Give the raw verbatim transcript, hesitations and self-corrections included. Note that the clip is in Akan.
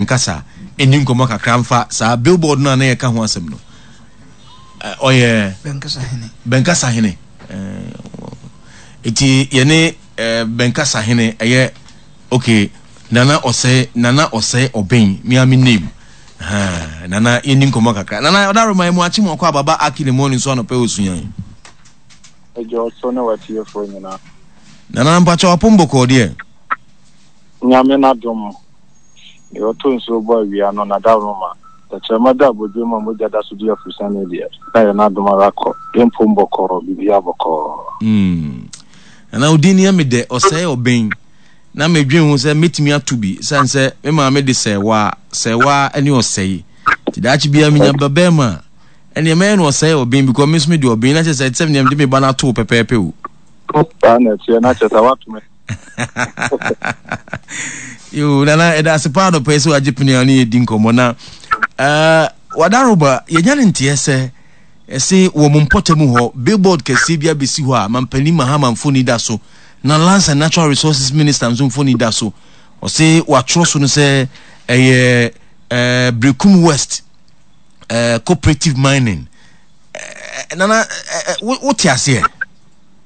Bɛnkasa ɛni nkɔmmɔ kakra mfa saa billboard no a na yɛka ho asɛm no. Ɔyɛ Bɛnkasa hene. Eti yɛne Bɛnkasa hene ɛyɛ okay Nana Ɔsɛe Nana Ɔsɛe Ɔbɛn me a me name. Ha Nana yɛni nkɔmmɔ kakra. Nana ɔdaroma yɛ mu akye mu akɔ ababa aki ne morning so anɔpɛ osuyan. Ɛgye ɔso ne watiefoɔ nyinaa. Nana mpakyɛ wapom bɔkɔɔ deɛ. Nyame n'adom. Deɛ ɔtɔ nsuo bɔ awia no n'adaworoma. Tɛkyerɛma da abodwe mu a mogya da so di afusane deɛ. Na yɛ n'adom ara kɔ. Yɛmpom bɔkɔɔ, biribiara bɔkɔɔ. Mm. Nana odin ni me dɛ Ɔsɛe Ɔbɛn. Na medwen ho sɛ mɛtumi ato bi sane sɛ me maame de sɛɛwaa, sɛɛwaa ne ɔsɛe. Nti daakye biara menya ba bɛrima a, ɛneɛ mɛyɛ no Ɔsɛe Ɔbɛn because me nso mede Ɔbɛn na kyerɛ sɛ ɛte sɛ nea mede me ba no ato pɛpɛɛpɛ o. Saa na ɛteɛ na kyerɛ sɛ woato me. Yo, Nana, ɛda ase paa dɔpɛ sɛ wagye pene a ne yɛdi nkɔmmɔ na uh, wadaroba yɛnya ne nteɛ sɛ ɛse wɔ mo mpɔtam hɔ billboard kɛseɛ bi abɛsi hɔ a mampanin Mahama mfoni da so na Lands and Natural Resources Minister nso mfoni da so. Ɔse watwerɛ so no sɛ ɛyɛ uh, Berekum West uh, Cooperative Mining. Uh, Nana, uh, wote aseɛ?